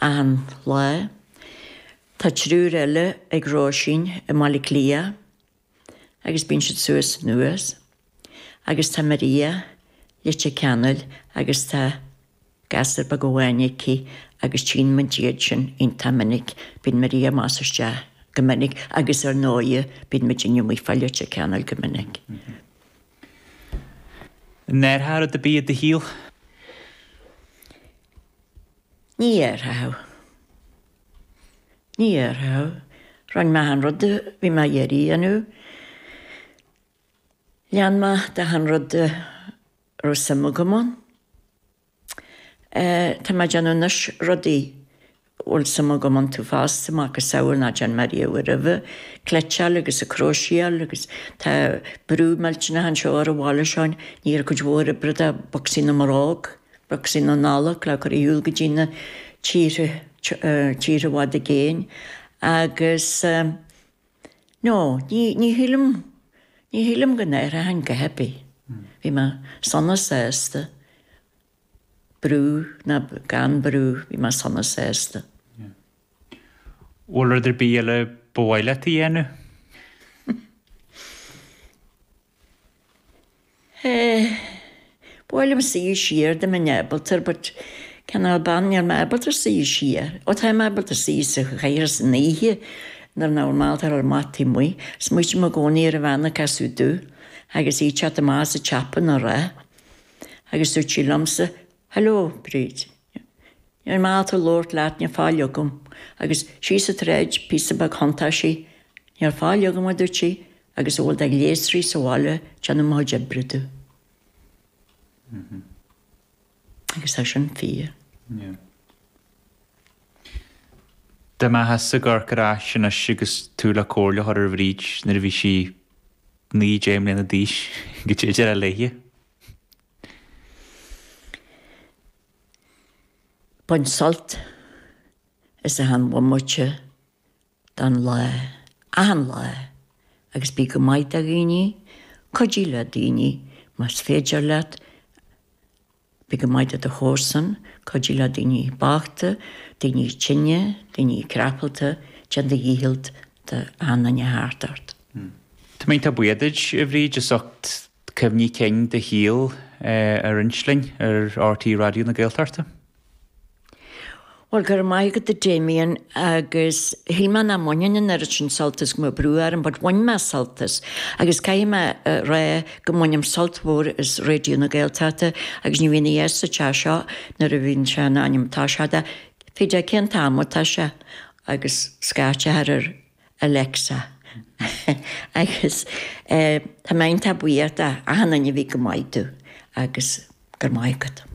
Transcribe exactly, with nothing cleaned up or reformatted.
achan lá. Tá triúr eile ag Róisín i mBaile Átha Cliath agus bíonn siad suas anuas. Agus tá Maria Leitir Ceanainn agus tá gasúr beag amháin aici agus tchíonn muid iad sin iontach minic. Bíonn Maria amach is isteach go minic agus ar ndóigh bíonn muid amuigh fá Leitir Ceanainn go minic. An ndéarfá rud ar bith i do shaol? Ní dhéarfá. Ní dhéarfá. Rinne mé achan rud a bhí mé ag iarraidh a dhéanamh. Lean mé d'achan rud a raibh suim agam ann. Tá mé ag déanamh anois rudaí a bhfuil suim agam iontu fosta, macasamhail nach ndearna mé riamh roimhe, cniotáil agus ag cróiséáil agus tá brú millteanach anseo ar an bhaile seo, ní raibh cuid mhór oibre de bocsaí na mbróg, bocsaí na Nollag le cur ar shiúl go dtí na tíortha, tíortha i bhfad i gcéin agus no, ní, ní shílim, ní shílim go n-athróinn a dhath ar bith. Bhí mé sona sásta, brú ná gan brú, bhí mé sona sásta. Bhfuil rud ar bith eile ba mhaith leat a dhéanamh? Ba mhaith liom suí siar dá mbeinn ábalta but cineál bean níl mé ábalta suí siar. Ó tá mé ábalta suí sa chathaoir san oíche nuair nach bhfuil mé ábalta dul amach taobh amuigh. Smaoitím i gcónaí ar an bhean a casadh domh agus í ag teacht amach as an tsiopa anuraidh agus dúirt sí liomsa, Hello, Bríd. Níl mé ábalta labhairt leat, níl faill agam. Agus síos an tsráid, píosa beag thiontaigh sí. Níl faill agam, a dúirt sí, agus a bhfuil de ghléasraí sa bhaile, déanamh mo chuid oibre domh. Agus tá sin fíor. Dá mbeifeása ag amharc ar ais anois agus tú le comhairle a chur ar Bhríd nuair a bhí sí naoi, deich mbliana d'aois, goidé a déarfá léithe. Bain sult as achan bhomaite den lá, achan lá, agus bí go maith do dhaoine, cuidigh le daoine más féidir leat, bí go maith do do chomharsan, cuidigh le daoine bochta, daoine tinne, daoine crapalta, déan do dhícheall d'achan duine thart ort. Tá mé iontach buíoch duit, a Bhríd, as ucht cuimhní cinn do shaoil a roinnt linn ar RTÉ Raidió na Gaeltachta. Bhuel, go raibh maith agat a Damien, agus shíl mé nach mbainfinn an oiread sin sult as go mbeadh brú orm, but bhain mé sult as. Agus caithfidh mé a rá go mbainim sult mhór as Raidió na Gaeltachta agus ní bhíonn a fhios sa teach seo nuair a bhíonn sé in ainm atá sé de, fé deich cén t-am atá sé agus scaití thar ar Alexa. Agus tá mé iontach buíoch d'achan duine a bhí go maith domh agus go raibh maith agat.